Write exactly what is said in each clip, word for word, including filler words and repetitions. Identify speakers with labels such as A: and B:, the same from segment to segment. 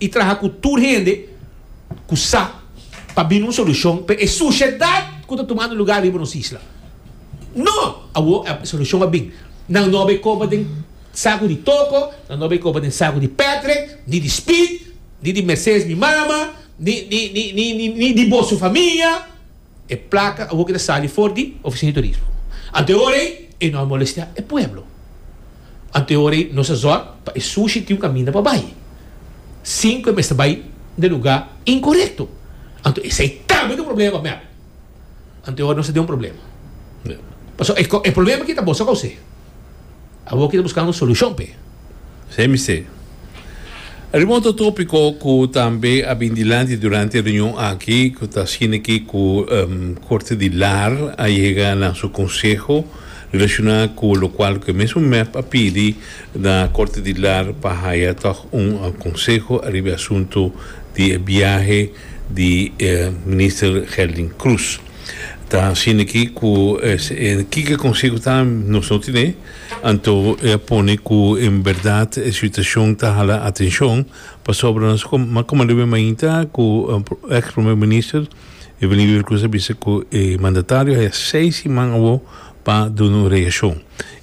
A: I traha ku tur hende ku sa pa bini un solushon pa e sushedat ku ta tumando lugá riba nos isla. No! Awor e solushon a bin. Nan no a bai koba den saku di Toko, nan no a bai koba den saku di Patrick, ni di Speed, ni di Mercedes mi mama, ni ni ni ni ni ni di boso famia. E plaka awor ki ta sali for di Ofisina di Turismo. Anto e ora ei e no a molestia e pueblo. Anto e ora ei nos a zòrg pa e sushi tin un kaminda pa bai, sin ku e mester bai den lugá inkorekto. Anto esei tambe ta un problema pa mep. Anto e ora nos ta den un problema. Pasobra e problema aki ta boso a kous'é. Awor ki ta buskando un solushon p'e.
B: Esei mester. Riba otro tópiko ku tambe a bin dilanti durante e reunion aki, ku ta asina ki ku Korte di Lar a yega na su konseho relashoná ku lokual ku e mesun mep a pidi na Korte di Lar pa haya tòg un konseho ariba e asuntu di e biahe di Minister Gerlin Cruz. Ta asina ki ku kiko e konseho ta nos no tine, anto e a pone ku en bèrdat e situashon ta hala atenshon pasobra nos a komand'é be mainta ku eks prome minister Evelyn Wever Croes a bisa ku e mandatario haya seis siman awo pa duna un reakshon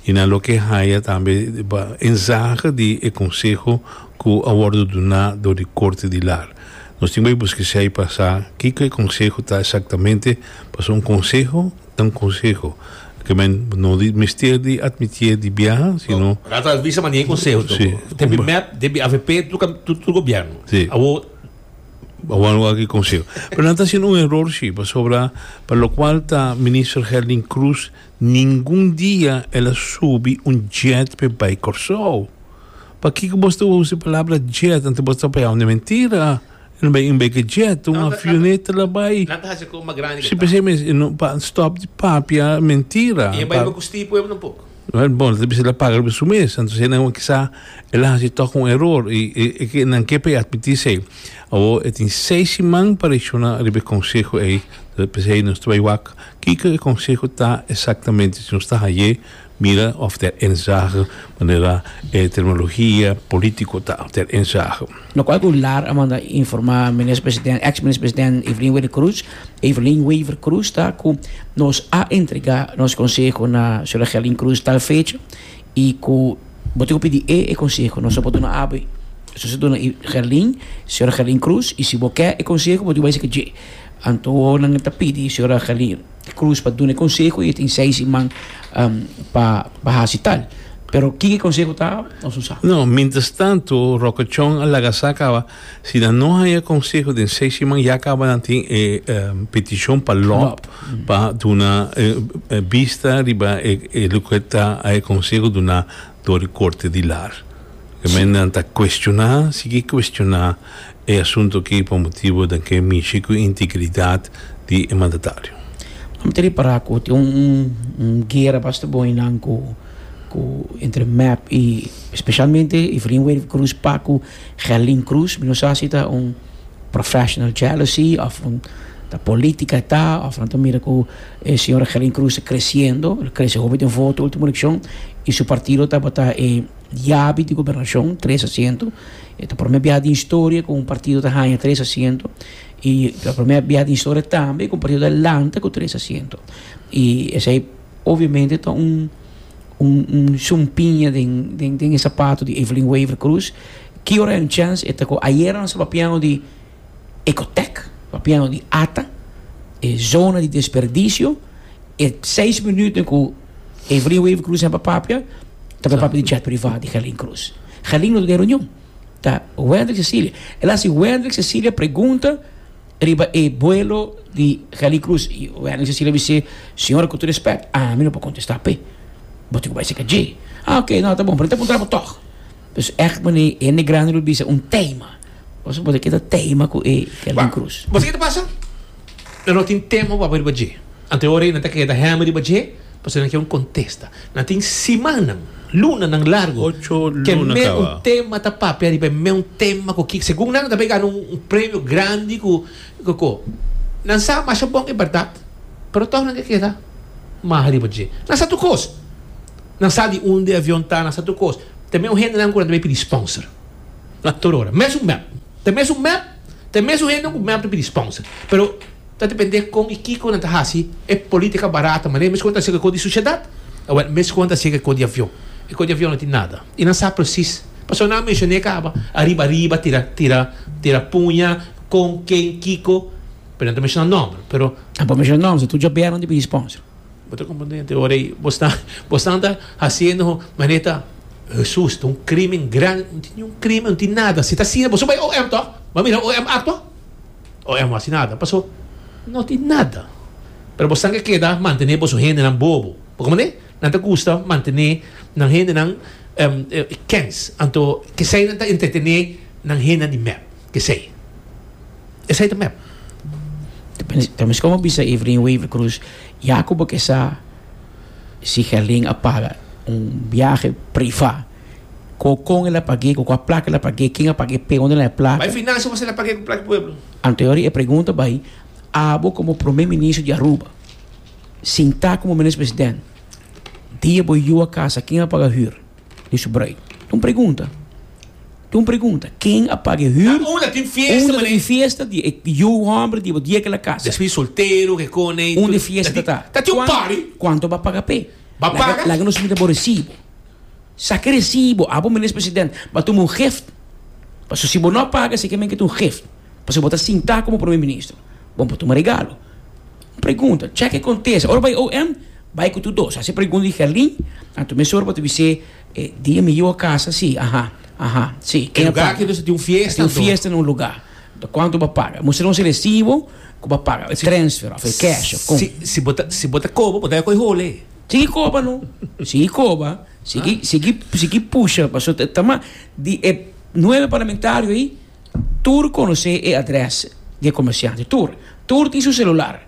B: i nan loke haya tambe pa inzage di e konseho ku a wòrdu duná dor di Korte di Lar. Nos tin bai buska esei pa sa kiko e konseho ta eksaktamente, pasobra un konseho ta un konseho. Ke men no di mester di atmitié di biaha, sino.
A: Rato a bisa manera e konseho toko.
B: Sí.
A: Debi mep, debi avp, tur tur gobièrnu.
B: Sí.
A: Awor.
B: Awor no aki konseho. Pero nan ta hasiendo un eror sí, pasobra pa lokual ta Minister Gerlin Cruz ningun dia el a subi un jet p'e bai Kòrsou. Pakiko bos ta usa e palabra jet anto bos ta papia un mentira? E no bai un beke jet, un avioneta la bai.
A: Nan ta hasi kon mas grandi ke
B: Si
A: ta.
B: p'esei mes e no pa stop di papia mentira.
A: I e bai riba kusti pueblo tampoco.
B: Wel bon, ta bisa el a paga riba su mes, anto si nan kisa el a hasi tog un eror i e ke nan ke pa e atmití esei. Awor e tin seis siman pa reakshoná riba e konseho ei, p'esei nos ta bai wak kiko e konseho ta eksaktamente, si nos ta hañ'é. Mira of ter inzage manera e terminologia politico ta, ter inzage.
C: Locual cu Lar a manda informa Minister President, ex Minister President Evelyn Wever Croes, Evelyn Wever Croes ta cu nos a entrega nos conseho na señora Gerlin Croes tal fecha y cu bo tin cu pidi e e conseho, nos no por duna abo, nos a duna Gerlin, señora Gerlin Croes y si bo ke e conseho bo tin cu bay esaki dje. Anto nan ta pidi señora Gerlin Cruz pa duna e conseho y e tin seis siman pa pa haci tal. Pero kiko e conseho ta nos no sa.
B: No, mientras tanto Roque Chong a laga sa caba si nan no haya conseho den seis siman ya caba nan tin e peticion pa lop pa duna bista riba e loke ta e conseho duna door di Corte di Lar. Men nan ta cuestiona, sigui cuestiona e asunto aki pa motibo den ke mishi cu integridad di e mandatario.
C: Mi ta ripara cu tin un un guera basta bon einan cu cu entre mep y specialmente Evelyn Wever Croes pa cu Gerlin Croes. Mi no sa si ta un professional jealousy of un ta politica ta of nan ta mira cu e señora Gerlin Croes ta creciendo, el a crece hopi den voto ultimo eleccion y su partido tabata e yabi di gobernacion, tres asiento. E ta prome biaha den historia cu un partido ta haña tres asiento. Y ta prome biaha den historia tambe cu un partido ta lanta cu tres asiento. Y esey obviamente ta un un un sumpiña den den den e zapato di Evelyn Wever Croes. Ki ora hay un chance e ta cu ayera nos ta papiando di Ecotec, papiando di ata, e zona di desperdicio, e seis minuten cu Evelyn Wever Croes a papia, ta papia di jet priva di Gerlin Croes. Gerlin no ta den reunion. Ta Wendrick Cecilia. El a hasi Wendrick Cecilia pregunta riba e buelo di Gerlin Cruz. Y Wendrick Cecilia a bis'é, Señora, ku tur respet, ami no por kontestá p'e. Bo tin ku bai seka dje. Ah, oke, no, ta bon, pero mi ta puntra bo tòg. Dus ègt manera hende grandi lo bisa un tema. Pasobra bo ta keda tema ku e Gerlin Cruz.
A: Bo sa ke ta pasa? Nan no tin tema pa papia riba dje. Anto e ora ei nan ta keda hèmber riba dje pasobra nan ke un kontesta. Nan tin simannan, lunanan largu
B: Ocho
A: ke
B: luna
A: me un
B: kaba.
A: tema ta papia riba e me un tema ku ki segun nan ta bay gana un premio grandi ku ku ku. Nan sa masha bon e bèrdat pero tòg nan ke keda maha riba dje. Nan sa tur kos. Nan sa di unda e avion ta, nan sa tur kos. Ta me un hendenan ku nan ta bay pidi sponsor. Tur ora. Mesun mep. Ta mesun M E P, ta mesun hende ku M E P ta pidi sponsor. Pero ta depende kon i kiko nan ta hasi, e politica barata, ma mes kon ta sega di sociedad, awel mes kon ta sega di avion. E di avion no tin nada. I nan sa precies. Paso nan menshoné kaba, ariba ariba, tira tira tira puña, kon ken kiko, pero nan ta menshoná nòmber, pero
C: Ah, pa menshoná nòmber, tur djabièrnè di pidi sponsor.
A: Bo ta komprondé, ora bo ta bo ta hasiendo manera Jesus, un krimen grandi, no tin un krimen, no tin nada. Si ta asina, bo bai O M toch? Ma mira O M aktua? O M no hasi nada. Paso, no tin nada. Pero bo ke keda mantené bo hendenan bobo. Kon e? Nan ta gusta mantené nan hendenan um, kens. Anto, ku esei nan ta entretené nan hende di M E P. Ku esei. Esei ta M E P.
C: Tambe kon bisa Evelyn Wever Croes, Jacobo ku sa si Gerlin a paga un biahe privá, kon kon el a pag'é, ku kua plaka el a pag'é, ken a pag'é, pe unda e plaka.
A: Bai finansia bo a pag'é ku plaka pueblo.
C: Anto e pregunta bai, abo komo promé minister di Aruba, sinta komo minister presidente, dia bo yu a kasa, ken a paga huur? Di su bruid. Un pregunta. Un pregunta. Ken a paga huur?
A: Unda tin fiesta,
C: Unda tin fiesta di yu hòmber di dia ku el a kasa.
A: Despues soltero ku kone.
C: Unda fiesta ta.
A: Ta tin un party.
C: Kuantu bo a paga p'e?
A: Ba paga?
C: Laga nos mira bo resibo. Saka resibo. Abo minister presidente, b'a tuma un gift. Paso si bo no paga, si ke men ku un gift. Paso bo ta sinta komo promé minister. Bon, pa tuma regalo. Pregunta, check e kontesta. Ora bai O M, bai ku tur dos. Hasi pregunta di Gerlin, anto mesora bo ta bisa, eh, dia mi yu a kasa, si, aha, aha, si.
A: E lugá ku tin un fiesta.
C: Tin un fiesta na un lugá. Kuantu bo a paga? Mustra un resibo ku bo a paga. Transfer, òf cash, òf kon.
A: Si si bo ta si bo ta koba, bo ta koi hole.
C: Sigui koba no. Sigui koba. Sigui sigui sigui pusha. Paso tama di e nuebe parlamentario ei tur konosé e adrès di komersiante. Tur. Tur tin su selular.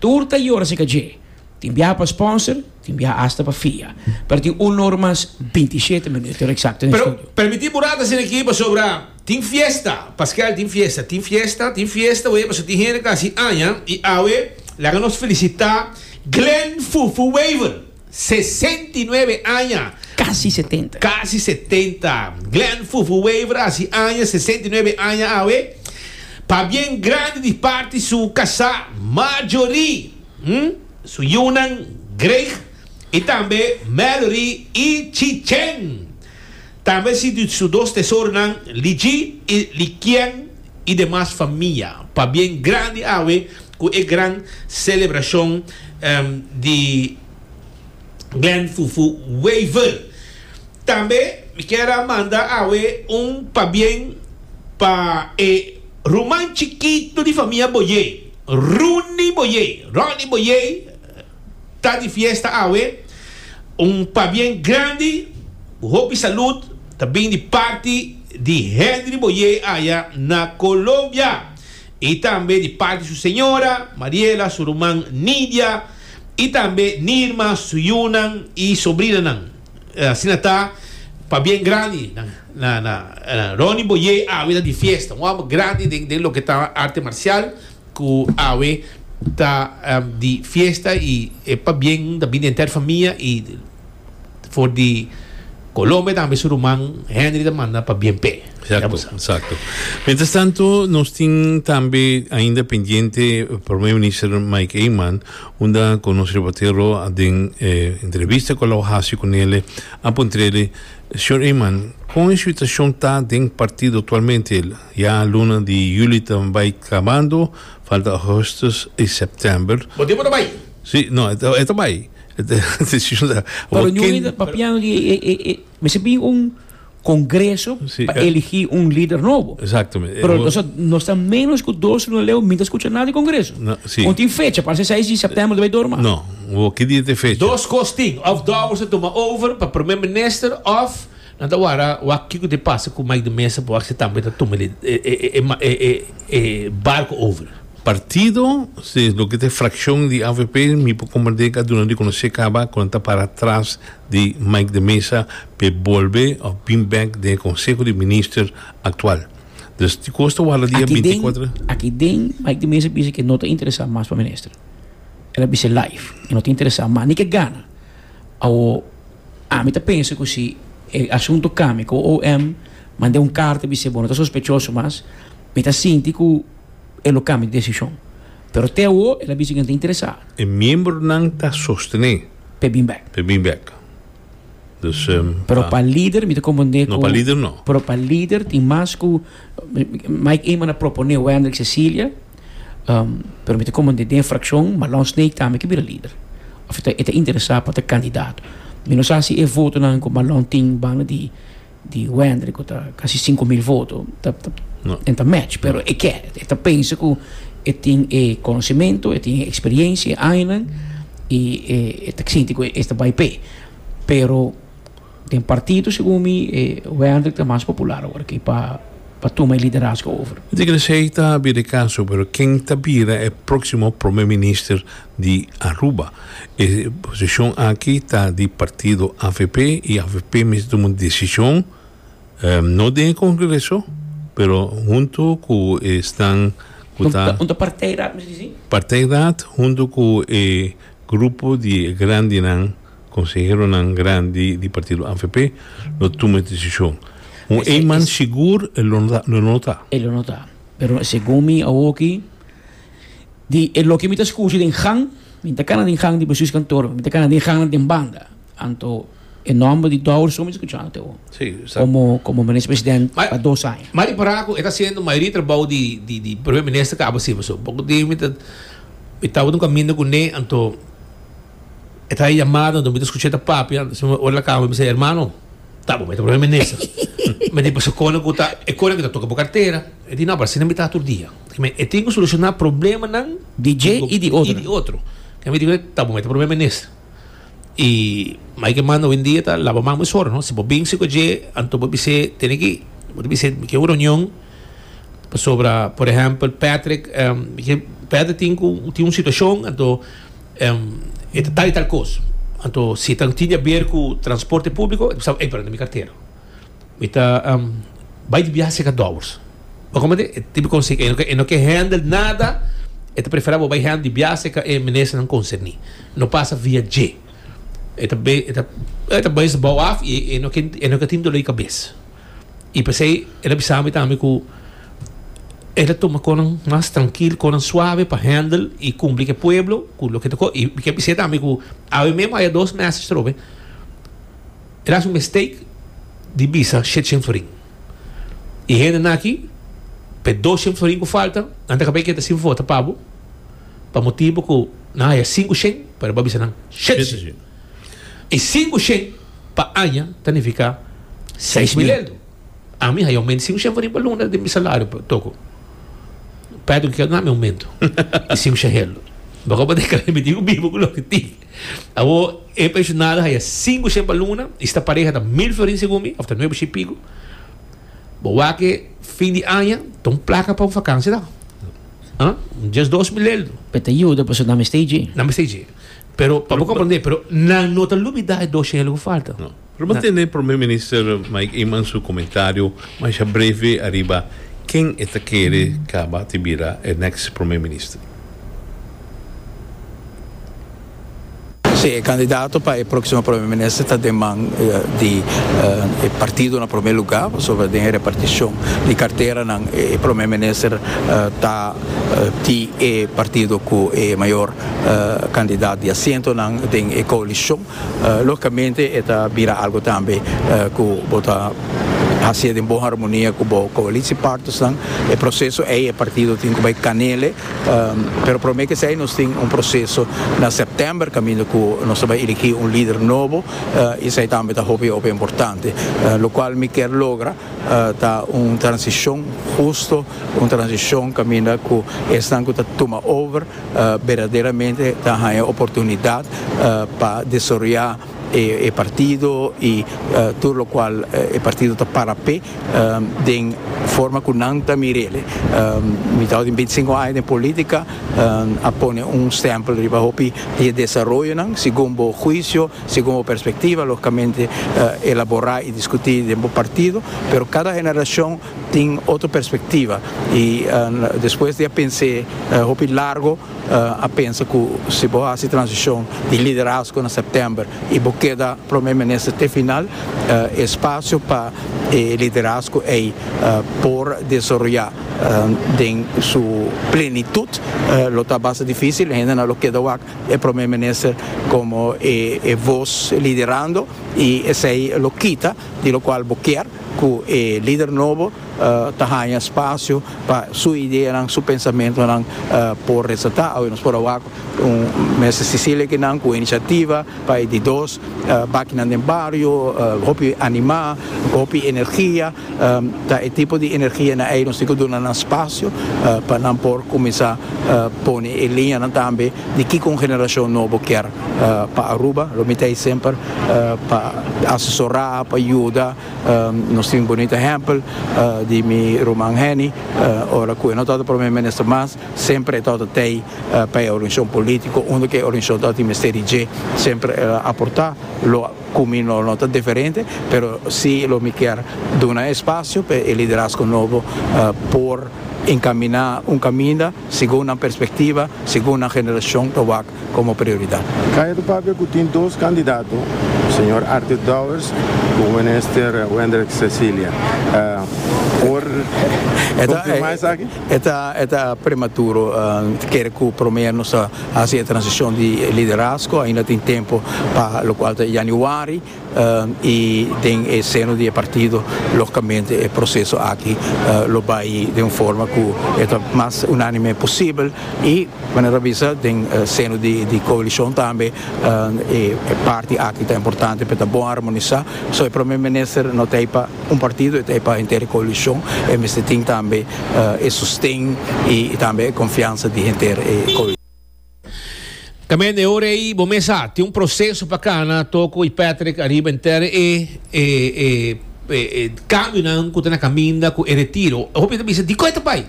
C: Tur ta yora se kaje. Tin bia pa sponsor, tin bia hasta pa fia. Pero tin un or mas binti i shete minüt, eksakto na
A: Pero
C: studio.
A: Permití burata sin aki sobra tin fiesta. Pascal, tin fiesta, tin fiesta, tin fiesta, oye, paso tin hende kasi aña i awe, laga nos felisitá Glenn Fufu Wever, sesenta i nuebe aña.
C: Kasi setenta.
A: Kasi setenta. Glenn Fufu Wever, hasi aña, sesenta i nuebe aña awe. Pabien grandi di parti su kasá Marjorie, hm? Su yunan Greg i tambe Mallory i Chichen. Tambe si su dos tesoronan Liji i Likien i demas famia. Pabien grandi awe ku e gran selebrashon um, di Glenn Fufu Wever. Tambe mi ke manda awe un pabien pa e ruman chikitu di famia Boye, Rooney Boye, Ronnie Boye, ta di fiesta awe. Un pabien grandi, hopi salú, tambe di parti di Henry Boye aya na Colombia. I tambe di parti su señora, Mariela, su ruman Nidia, i tambe Nirma, su yunan i sobrinanan. Asina ta, pabien grandi na, na, na, na Ronnie Boye awe di fiesta. Un hòmber grandi den, den loke ta arte marsial ku awe ta um, di fiesta i e pabien tambe henter famia i for di Colombia tambe su ruman Henry ta manda pabien p'e.
B: Eksakto, eksakto. Mientras tanto, nos tin tambe ainda pendiente promé minister Mike Eman, unda ku nos reportero den eh, entrevista ku el a hasi kuné, a puntr'é, señor Eman, kon e situashon ta den partido aktualmente? Ya luna di yüli tambe ta bai kabando, falta ougùstùs i sèptèmber.
A: Bo tempu bai.
B: Si, no, e bai.
C: Pero no papiando di e, e, e, mester bin un kongreso
B: Si,
C: pa
B: eh.
C: eligí un lider nobo.
B: Eksaktamente.
C: Pero nos, nos ta menos ku dos luna leu, mi no ta skucha nada di kongreso.
B: No, si.
C: No tin fecha, parse seis di sèptèmber bai door mas.
B: No, ki dia tin fecha?
A: Dos kos tin, òf Dowers a tuma over pa promé minister òf nan ta warda wak kiko ta pasa ku Mike de Meza pa wak tambe ta tuma e e e e e e barko over.
B: Partido, si loke ta frakshon di A V P, mi por komprondé ku durante konosé kaba, ku ta para tras di Mike de Meza, pa bolbe òf bin back den Konseho di Minister aktual. Dus di kos ta warda dia
C: Aki den,
B: binti i kuater.
C: Aki den, Mike de Meza a bisa ku no ta interesá mas pa minister. El a bisa live, e no ta interesá mas, ni ke gana. Awo, ami ta pensa ku si e asuntu kambia, ku O M manda un karta bisa, bon, no ta sospechoso mas, Mi ta sinti ku e lo kambia di desishon. Pero te awor el a bisa ku e no ta interesá.
B: E miembronan ta sostené.
C: P'e bin bèk.
B: P'e bin bèk. Dus, um,
C: Pero pa lider mi ta komprondé
B: ku. No, pa lider no.
C: Pero pa lider tin mas ku Mike Eman a proponé Wendrick Cecilia, um, pero mi ta komprondé den frakshon Marlon Sneek tambe ke bira lider. Of e ta e ta interesá pa ta kandidato. Mi no sa si e votonan ku Marlon tin banda di di Wendrick ku ta kasi sinku mil voto ta ta
B: No.
C: en ta match, pero e ke, e ta pensa ku e tin e konosementu, e tin e eksperiensia, e añanan i e e ta sinti ku e ta bai p'e. Pero den partido segun mi e Wendrick ta mas popular awor aki pa pa tuma e liderazgo over.
B: Mi ta kere esey ta bira e caso, pero ken ta bira e proximo Prome Minister di Aruba? E posicion aki ta di partido avp y avp mester tuma un decision, no den e Congreso, pero hunto cu esnan cu ta.
C: Un ta partijraad mester disi?
B: Partijraad hunto cu e grupo di e grandinan, conseheronan grandi di partido avp lo tuma e decision. Un Eman sigur e lo no ta.
C: E lo no ta. Pero segun mi awoki, di e loke mi ta scucha den gang, mi ta cana den gang di bestuurskantoor, mi ta cana den gangnan den banda. Anto e nomber di Dowers so mi ta scuchando te awo.
B: Sí, sa.
C: Como, como minister president pa dos aña.
A: Ma ripara cu e ta haciendo mayoria trabou di, di, di primer minister caba si pasobra poco dia mi ta, mi tabata un caminda cune anto e ta haña yamada anto mi ta scucha e ta papia anto ora el a caba mi bisa hermano ta bo mester primer minister mi di pasobra cona cu ta e cona cu ta toca bo cartera e di no pero asina mi ta tur dia e tin cu soluciona problemanan
C: di dje y di otro
A: y di otro mi di ta bo mester primer minister. Y Mike Eman hoy-en-dia ta laba man mesora, no? Si bo bin si cu dje, anto bo bis'é, tene ki, bo ta bis'é, mi ke un reunion pasobra, por ehempel, Patrick, mi ke, Patrick tin cu, tin un situacion, anto e ta tal y tal cos. Anto si ta tin di haber cu transporte publico, e ta bisa, ey, pero na mi cartera. Mi ta bay di biaha cerca Dowers. Bo comprende? E tipo conseho, e no ke, e no ke handle nada, e ta prefera bo bay handle di biaha cerca e ministernan concerni. No pasa via dje. E ta be, e ta, e ta bay su bou af y e no ke, e no ke tin dolor di cabes. Y p'esey el a bisa mi tambe cu el a tuma conan mas trankil, conan suave pa handle y cumpli cu e pueblo cu loke ta co. Y mi ke bis'é tambe cu awe mesmo haya dos message trobe. El a haci un mistake di bisa shete florin. Y hendenan aki p'e dos shen florin cu falta, nan ta caba keda sin vota pa bo, pa motibo cu nan haya sinku shen, pero bo a bisa nan shete shen. Y sinku shen pa aña ta nifica seis mil eldo. Ami haya aumento sinku shen florin pa luna den mi salario toko. Pedro kier duna mi aumento di sinku shen eldo. Bo a declara mi tin cu biba cu loke tin. Awor e pensionado haya sinku shen pa luna y si ta pareha ta mil florin segun mi of ta nuebe shen y pico. Bo wak e fin di aña ta un placa pa un vakantie ta. Ah, un dies dos mil eldo.
C: Pe ta yuda pasobra nan mester dje.
A: Nan mester dje. Pero pa bo comprende, pero nan no ta lubida e dos shen eldo cu falta.
B: No. Pero bo tende Prome Minister Mike Eman su comentario masha breve ariba ken e ta kere caba di bira e next Prome Minister.
D: Sí, e kandidato pa e próksimo prome minister ta den man di e partido na prome lugá, pasobra den e repartishon di karteranan e prome minister ta di e partido ku e mayor kandidat di asientonan den e koalishon. Lógikamente e ta bira algu tambe ku bo ta hasié den bon harmonia ku bo koalisiepartnersnan. E proseso ei e partido tin ku bai kanele. Pero prome ke esei nos tin un proseso na sèptèmber kaminda ku nos ta bai eligí un lider nobo i esei tambe ta hopi hopi importante. Lokual mi kier logra ta un transishon husto, un transishon kaminda ku esnan ku ta tuma over berdaderamente ta haña oportunidat pa desaroyá e partido i tur lokual e partido ta para p'e den forma ku nan ta mir'el. Mi tabatin binti sinku aña den politika, a pone un stèmpel riba hopi di e desaroyonan segun bo huisio, segun bo perspektiva, logikamente elaborá i diskutí den bo partido, pero kada generashon Tin otro perspectiva y despues di a pensa hopi largo, a pensa cu si bo haci transicion di liderazgo na september y bo keda Prome Minister te final, espacio pa e liderazgo ey por desaroya den su plenitud lo ta basta dificil. Hendenan lo keda wak e Prome Minister como e voz liderando y esey lo kita di locual bo kier cu e lider nobo ta haña espacio pa su ideanan, su pensamentonan por resalta. Awe nos por a wak un Minister Cecilia kinan cu iniciativa pa e di dos bakinan den bario, hopi anima, hopi energia. Ta e tipo di energianan ey nos tin cu duna nan espacio pa nan por cuminsa pone e liñanan tambe di kico un generacion nobo kier pa Aruba. Lo mi ta ey semper pa asesora, pa yuda. Nos tin un bonito ehempel di mi ruman Henny, ora cu e no tabata Prome Minister mas, semper e tabata tey pa e organisacion politico, unda cu e organisacion tabatin mester di dje, semper el a aporta. Lo cu mi no no ta diferente, pero si lo mi kier duna espacio pa e liderazgo nobo por encamina un caminda segun nan perspectiva, segun nan generacion ta wak como prioridad.
E: Caya ta papia cu tin dos candidato, señor Arthur Dowers cu Minister Wendrick Cecilia. Por confirma esaki?
D: E ta e ta prematuro. Kere cu prome nos ta haci e transicion di liderazgo. Ainda tin tempo pa locual ta januari y den e seno di e partido logicamente e proceso aki lo bay den un forma cu e ta mas unanime posibel y manera a bisa den seno di di coalicion tambe e parti aki ta importante pa e ta bon armonisa. So e prome minister no ta ey pa un partido, e ta ey pa henter e coalicion, e mester tin tambe e sosten y tambe e confiansa di henter e coalicion.
A: Tambe e ora ei bo mes sa, tin un proceso pa cana, Toko y Patrick ariba enter e e e e cambionan cu ta na caminda cu e retiro. Hopi ta bisa, dikon e ta bai?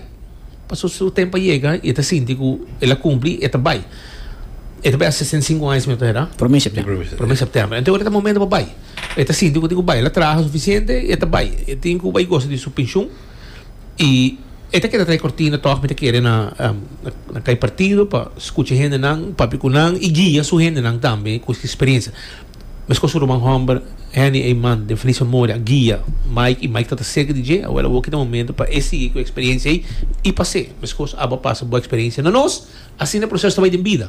A: Pasobra su tempo a yega y e ta sinti cu el a cumpli, e ta bai. E ta bai a sesenta i sinku aña si mi no ta hera.
C: Prome september.
A: Prome september. Enton ora ta momento pa bai. E ta sinti cu tin cu bai. El a traha suficiente y e ta bai. E tin cu bai gosa di su pensioen y E ta keda trae cortina tog mi ta kere na na kai partido pa scucha hendenan, papia cu nan y guia su hendenan tambe cu su experiencia. Mescos su ruman homber Henny Eman den feliz memoria a guia Mike y Mike ta ta cerca di dje, awel awor ki ta momento pa e sigui cu e experiencia ey y pas'e. Mescos abo a pasa bo experiencia na nos, asina e proceso ta bay den bida.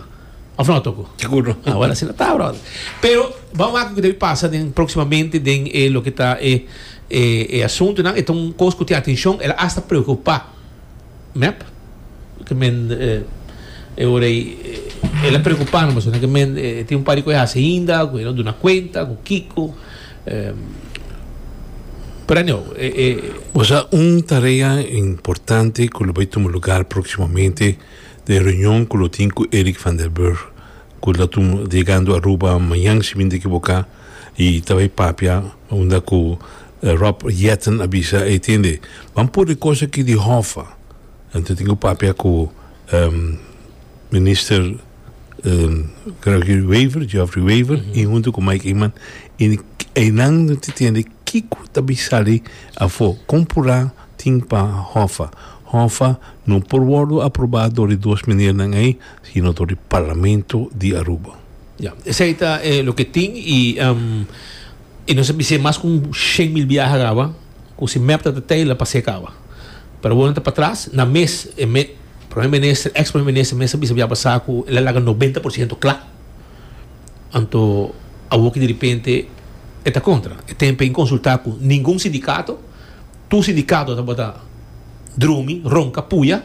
A: Of no, Toco?
B: Seguro.
A: Awel asina ta, brother. Pero ban wak loke debe pasa den proximamente den e loke ta e E e asuntunan e ta un kos ku tin atenshon, el a asta preokupá mep, ke men e ora ei el a preokupá nan pasobra ke men e tin un par di kos e hasi ainda ku e no duna kuenta ku kiko pero anyhow e e.
B: Bo sa un tarea importante ku lo bai tuma lugar próksimamente den reunion ku lo tin ku Eric van der Burg ku lo tuma yegando Aruba mañan si mi no ta ekiboká. Y ta bay papia unda cu Rob Jetten a bisa ey tende ban por e cos aki di Hoffa anto tin cu papia cu Minister Gregory Wever, Geoffrey Wever y hunto cu Mike Eman y eynan no ta tende kico ta bay sali afo con pura tin pa Hoffa. Hoffa no por wordo aproba door di dos meneernan ey sino door di Parlamento di Aruba.
A: Ya, esei ta e loke tin y y nos a bis'é mas ku un shen mil biaha kaba ku si mep ta ta tei la pas'é kaba. Pero awor nan ta patras, nan mes e me prome minister, ex prome minister mes a bisa bia pasá ku el a laga nobenta por siento kla. Anto awor ki diripente e ta kontra. E tempu e konsultá ku ningun sindikato, tur sindikato tabata drumi, ronka, puya.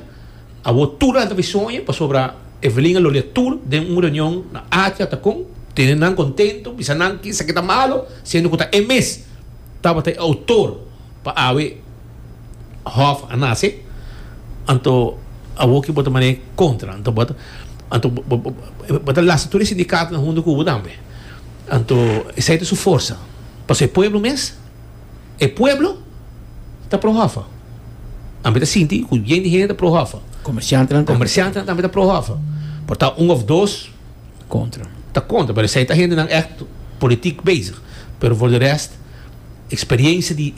A: Awor tur nan ta bai soña pasobra Evelyn a lolia tur den un reunion na Atria ta con tene nan contento, bisa nan ki esaki ta malo, siendo cu ta e mes tabata e autor pa awe Hof a nace, anto awor ki bo ta mane contra, anto bo ta anto bo ta lastra tur e sindicatonan hunto cu bo tambe, anto esey ta su forsa, pasobra e pueblo mes, e pueblo ta pro Hoffa. Ami ta sinti ku yen di hende ta pro Hoffa.
C: Komersiantenan tambe.
A: Komersiantenan tambe ta pro Hoffa. Por ta un òf dos
C: Kontra.
A: ta kontra, pero esei ta hendenan ègt politiek bezig. Pero for de rest, eksperiensia di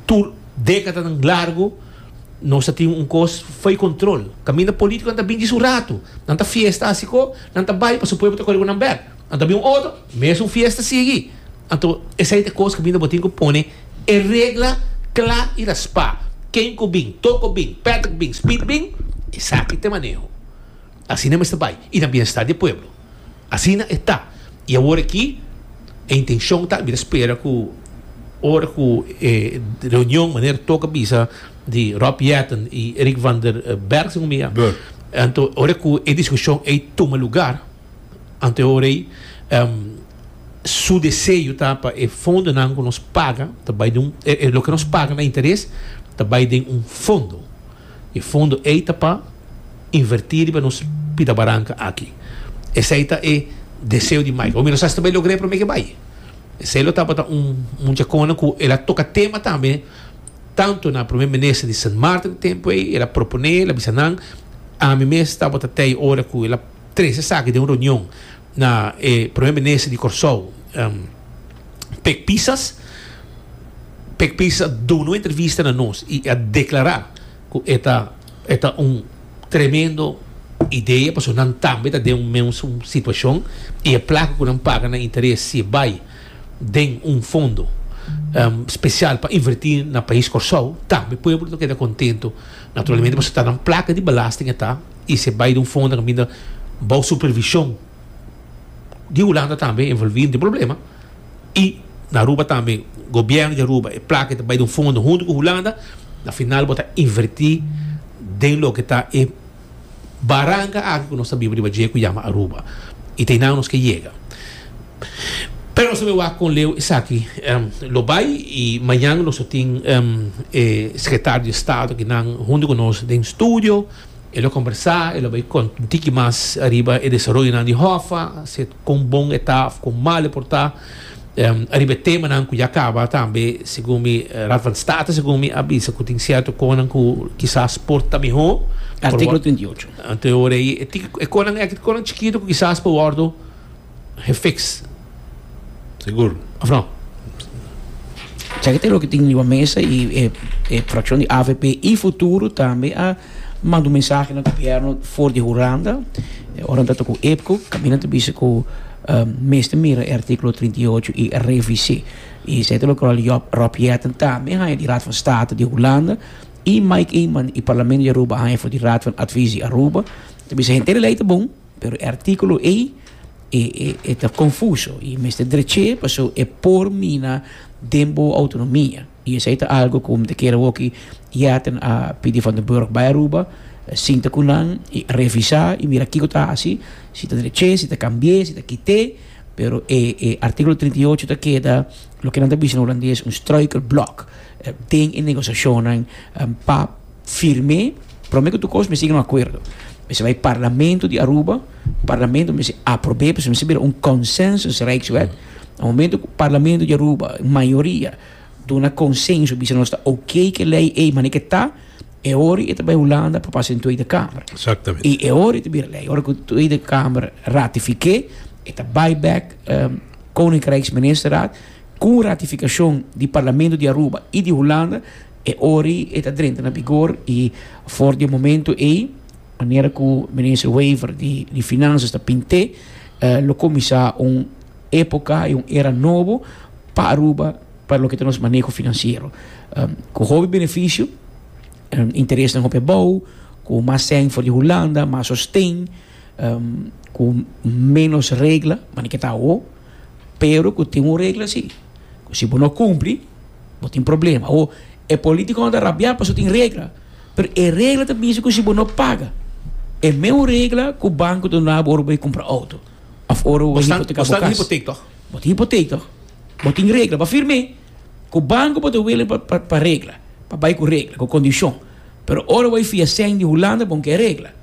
A: tur Décadanan largo nos a tin un cos fo'i control. Caminda politiconan ta bin djis un rato. Nan ta fiesta haci co, nan ta bay pasobra pueblo ta core cu nan bek. Nan ta bin un otro, mesun fiesta sigui. Anto esey ta e cos caminda bo tin cu pone e regla cla y raspa. Ken cu bin, Toko bin, Patrick bin, Speed bin, esaki ta e maneho. Asina mester bay y na bienestar di e pueblo. Asina e ta. Y awor aki e intencion ta, mi ta spera cu ora cu e reunion manera Toka bisa di Rob Jetten y Eric van der Berg segun mi ya, anto ora cu e discusion ey tuma lugar, anto e ora ey su deseo ta pa e fondonan cu nos paga ta bay den un, e loke nos paga na interes ta bay den un fondo. E fondo ey ta pa inverti riba nos pida baranca aki. Esey ta e deseo di Mike. Mi no sa si ta bay logr'e prome ke bay. Esey lo tabata un muchacona cu el a toca tema tambe tanto na Prome Minister di Sint Maarten tempo ey, el a propone, el a bisa nan, ami mes tabata tey ora cu el a trece esaki den un reunion na e Prome Minister di Corsou, Pek Pisas. Pek Pisas a duna un entrevista na nos y a declara cu e ta e ta un tremendo idea pasobra nan tambe ta den un mesun situacion y e placa cu nan paga na interes si e bay den un fondo special pa inverti na pais Corsou tambe pueblo ta keda contento naturalmente pasobra ta nan placa di belasting e ta y si e bay den un fondo caminda bao supervision di Hulanda tambe envolvi no tin problema y na Aruba tambe gobierno di Aruba e placa ta bay den un fondo hunto cu Hulanda na final bo ta inverti den loke ta e baranca aki cu nos ta biba riba dje cu yama Aruba y ta einan nos ke yega. Pero nos ta bay wak con leu esaki lo bay y mañan nos lo tin e secretario di estado akinan hunto cu nos den studio. E lo combersa, e lo bay conta un tiki mas ariba e desaroyonan di Hoffa, si con bon e ta of con mal e por ta. Ariba e temanan cu ya caba tambe, segun mi, Raad van State segun mi a bisa cu tin cierto conan cu kisas por ta miho.
C: Articulo trinta i ocho.
A: Anto e ora ey, e conan aki ta conan chikito cu kisas por wordo gefix.
B: Sigur.
A: Of no?
C: Esaki ta loke tin riba mesa y e fraccion di A V P y Futuro tambe a manda un mensahe na gobierno for di Hulanda. Ora nan ta cu EPCO, caminda ta bisa cu mester mira e articulo trinta i ocho y revis'e. Y esei ta loke Rob Jetten tambe haña di Raad van State di Hulanda y Mike Eman y Parlamento di Aruba haña for di Raad van Advies di Aruba. Ta bisa henter e ley ta bon, pero e articulo ey e, e, e ta confuso y mester dreche paso e por mina den bo autonomia. Y esei ta algo cu mi ta kere hoki Jetten a pidi Van den Burg bay Aruba, sinta cu nan y revisa y mira kico ta haci, si ta dreche, si ta cambie, si ta kite, pero e, e articulo trinta i ocho ta keda loke nan ta bisa na holandes un struikelblok den e negociacionnan pa firme. Prome cu tur cos mester yega na un acuerdo. Mester bay Parlamento di Aruba, Parlamento mester aprobe, pasobra mester bira un consensus Rijkswet. Na momento cu Parlamento di Aruba, mayoria, duna consenso, bisa nos ta ok cu e ley ey, mane ke ta, e ora e ta bay Hulanda pa pasa den Tweede Kamer.
B: Exactamente.
C: Y e ora e ta bira ley. Ora cu Tweede Kamer ratifique, e ta bay back, um, Koninkrijksministerraad, cu ratificacion di Parlamento di Aruba y di Hulanda, e ora e ta drenta na vigor y for di momento ey, manera cu minister Wever di, di Finanzas ta pinte, eh, lo comienza un época y un era nobo pa Aruba, pa loke ta nos maneho financiero. Um, cu hopi beneficio, um, interes nan hopi abou, cu mas sen for di Hulanda, mas sosten, um, cu menos regla, mane ke ta awo, pero cu tin un regla si. Cu si bo no cumpli, bo tin problema. O e politico no ta rabia paso tin regla, pero e regla ta bisa cu si bo no paga, e meu regla cu banco ta duna bo ora bo compra auto, of ora bo
A: Bo stan,
C: hipoteca
A: bo
C: bo
A: stan
C: cas.
A: hipoteek toch?
C: Bo tin hipoteek toch? Bo tin regla, bo firme. Cu banco bo ta willing pa, pa, pa regla, pa bai cu regla, cu condicion. Pero ora bo fia sen di Hulanda, bon ke regla.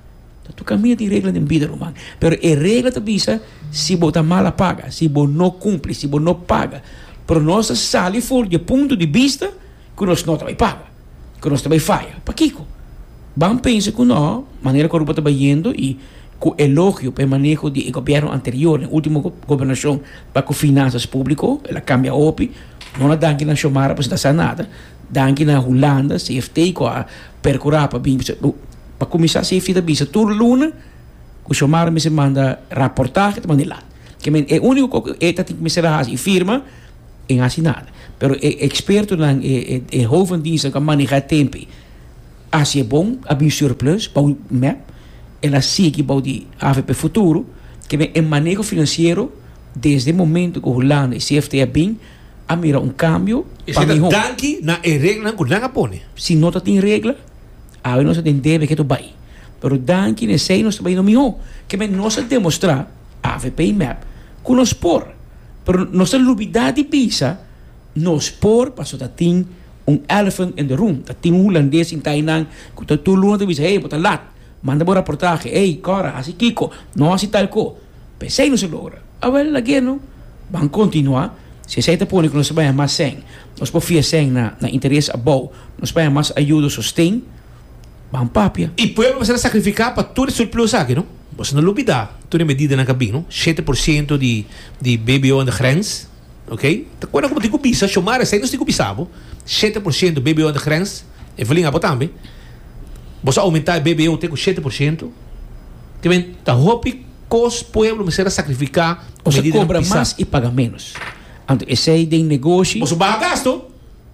C: Ta tu camina tin regla den vida, ruman. Pero e regla ta bisa si bo ta mala paga, si bo no cumpli, si bo no paga. Pero nos sali for di punto di vista cu nos no ta bai paga, cu nos ta bai falla. Pakiko? Ban pensa cu no, manera cu Aruba ta bayendo y cu elogio pe maneho di gobierno anterior, en ultimo go-, gobernacion pa cu finanzas publico, el a cambia opi, No na danki na Xiomara, pues ta sa nada. Danki na Hulanda, C F T ku a perkurá pa bin pa kuminsá. C F T ta bisa tur luna ku Xiomara mester manda reportahe, ta manda lá. Ke men e úniko ku e ta tin ku mester hasi firma en hasi nada. Pero e ekspertonan e e, e hoofddienst ku manehá tempu. Hasi bon, a bin surplus, pa M E P, el a sigui bou di A V P Futuro, ke men e maneho finansiero desde e momento ku Hulanda i C F T a bin, a mira un kambio pa
A: Esei ta
C: mihó.
A: Danki na e reglanan ku nan a pone.
C: Si no tin regla, awe nos tin debe ku tur bai. Pero danki na esei nos ta bai mihó. Ke men nos a demostrá, A V P i M E P, ku nos por. Pero nos a lubidá di bisa, nos por, paso ta tin un elephant in the room. Ta tin un hulandes sintá einan, ku ta tur luna ta bisa, "Hey, bo ta lat. Manda bo reportahe, hey, kora, hasi kiko, no hasi tal ko." P'esei no a logra. Awel, lag'é no, ban kontinuá. Si esei ta pone ku nos bai mas sèn, nos por fia sèn na, na interes abou, nos bai mas ayudo sosten, ban papia.
A: I pueblo mester sakrifiká pa tur surplus aki, no? Bo no lubidá, tur medidanan ku a bin, no? shete porshento di, di B B O aan de grens, ok? Ta kuando komo tin ku bisa, Xiomara, esei nos tin ku bisa bo, shete porshento B B O aan de grens, Evelyn, abo tambe. Bo a oumentá B B O te ku shete porshento. Ke men, ta hopi kos pueblo mester sakrifiká.
C: Bo kobra mas i paga ménos. Anto, esei den negoshi,
A: Bo baha gasto,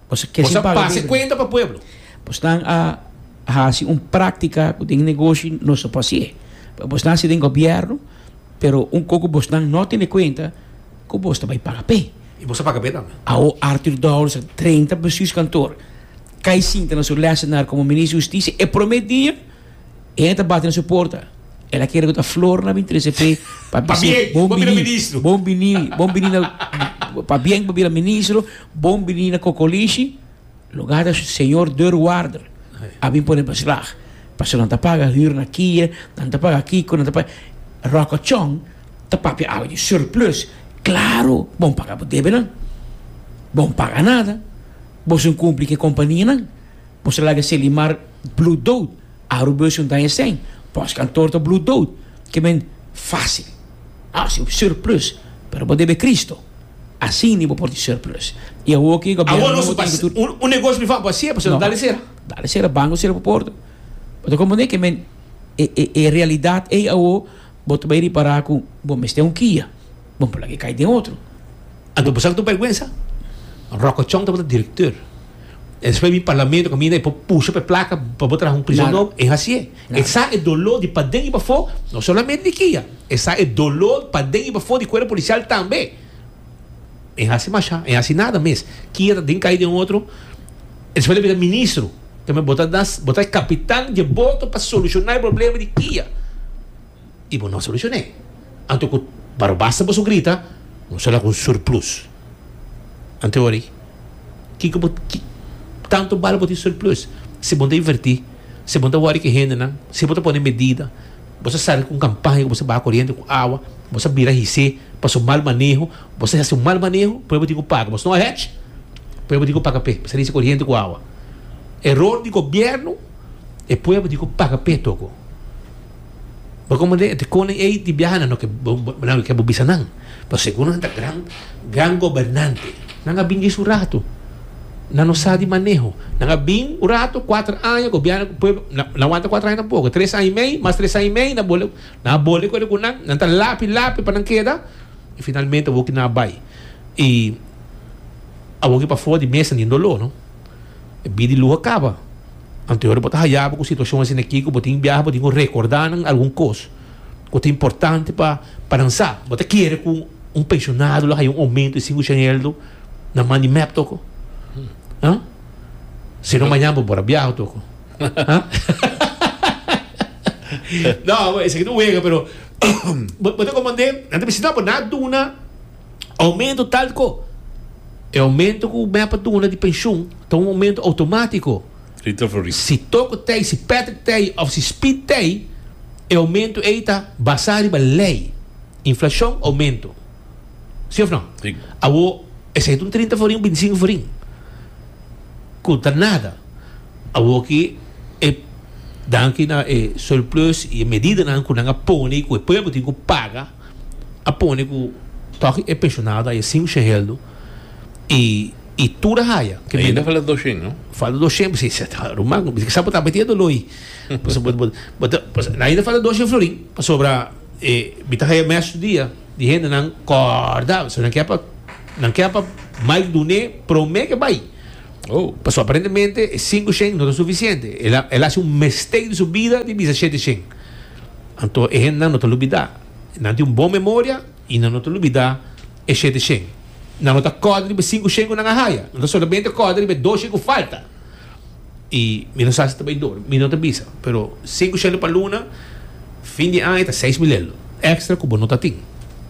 C: bo ke
A: bo
C: paga
A: pasa kuenta pa pueblo.
C: Bo ta a hasi un práktika ku den negoshi no se por. Bo ta den gobièrnu, pero un poko bo no tene kuenta ku bo ta bai paga p'e.
A: I bo paga p'e tambe.
C: Awor Arthur Dowers, drenta bestuurskantoor. Kai sinta na su lessenaar komo minister di hustisia e promé dia, e ta bate na su porta. El a kere ku ta flor nan a bin trese p'e pa
A: Pabien,
C: bon
A: bon bini
C: bini,
A: ministro.
C: Bon bini, bon bini na pabien pa bira ministro, bon bini na Kokolishi. Lugá ta señor deurwaarder a bin pone beslag. Paso nan ta paga huur na Kia, nan ta paga kiko, nan ta paga Rocco Chong, ta papia awe di surplus. Klaro, bon paga bo debenan. Bon paga nada. Bo no kumpli ku kompanianan. Bo laga Selimar bloed dood. Arubus un daña sèn. Postkantoor ta bloed dood. Ke men fásil. Ah, si surplus. Pero bo debe Cristo. Asina bo por tin surplus. I awor ku
A: Awor nos pasa un, un negoshi privá, asina, pa no dale sera.
C: Dale sera, banko sera pa porta. Pero komo ne ke men e, e, e realidat ei awor bo ta bai ripará ku bo mester un Kia. Bon, por ku kai den otro.
A: Anto, bo sa ku bèrgwensa? Rocco Chong tabata direktor. Despues bin parlamento kaminda i pusha pa plaka pa bo traha un prizòn
C: Nada.
A: nobo. E asina.
C: Nada.
A: Esei e doló di paden i pafó, no solamente di Kia. Esei e doló paden i pafó di kuerpo polisial tambe. E asina masha, e asina nada mes. Kia den kai den otro. Despues el a bira ministro. Tambe bo ta das, bo ta kapitan di boto pa solushoná e problema di Kia. I bo no solushoná. Anto ku pero basta bo grita, no será ku surplus. Anto ori, kiko bo ki, tantu bal bo tin surplus. Si bo ta invertí, si bo ta wòri ku hendenan, si bo ta pone medida, bo sali ku kampaña, bo baha koriente ku awa, bo bira his'é, pa su mal maneho, bo hasi un mal maneho, pueblo tin ku paga. Bo no hedge, pueblo tin ku paga p'e, bo hisa koriente ku awa. Eror di gobièrnu, e pueblo tin ku paga p'e toko. Ma komo de, de koning ei di biaha no ke no ke bo bisa nan. Pero segun nan ta gran gran gobernante. Nan a bin su rato. Nan no sa di maneho. Nan a bin un rato, kuater aña, gobièrnu pueblo, nan a wanta kuater aña tampoko. Tres aña i mei, mas tres aña i mei, nan bole, nan bole ku ku nan, nan ta lapi lapi pa nan keda. I finalmente awor ku nan bai. I awor ku pafó di mesa tin doló, no? E bida di luho a kaba. Anto bo ta haya ku situashon asina aki, ku bo tin biaha, bo tin ku rekordá nan algun kos ku ta importante pa pa nan sa. Bo ta kere ku un penshonado lo haya un oumento di sinku euro na man di M E P toko. Hã? Si no mañan bo bora biaha toko. Hã? No, esaki no wega, pero bo ta komandé, nan ta bisa, "Bo na duna oumento tal ko." E oumento ku M E P a duna di penshun ta un oumento outomátiko.
B: Rita Floris.
A: Si Toko tei, si Patrick tei, òf si Speed tei, e oumento ei ta basá riba lei. Inflashon, oumento. Si òf no?
B: Si.
A: Awor, esei ta un trinta florin, bintisinku florin. Ku ta nada. Awor ku e danki na e surplus i medidanan ku nan a pone ku e pueblo tin ku paga, a pone ku toch e penshonado ei sinku shen heldo i I tur a haya. Ke
B: Ainda falta doshen, no?
A: Falta doshen, si, ruman, sa bo ta metiendo loi. Ainda falta doshen florin, pasobra e mi ta haya mes dia di hendenan kòrda, so nan ke pa nan ke pa Mike dun'é promé ke bai.
B: Oh.
A: Pasobra aparentemente e sinku shen no ta sufisiente. El a el a hasi un mistake di su bida di bisa shete shen. Anto e hendenan no ta lubidá. Nan tin un bon memoria i nan no ta lubidá e shete shen. Nan no ta kòrda riba e sinku shen ku nan a haya. Nan ta solamente kòrda riba e dos shen ku falta. I mi no sa si ta bai dor, mi no ta bisa. Pero sinku shen pa luna, fin di aña ta seis mil elo èkstra ku bo no ta tin.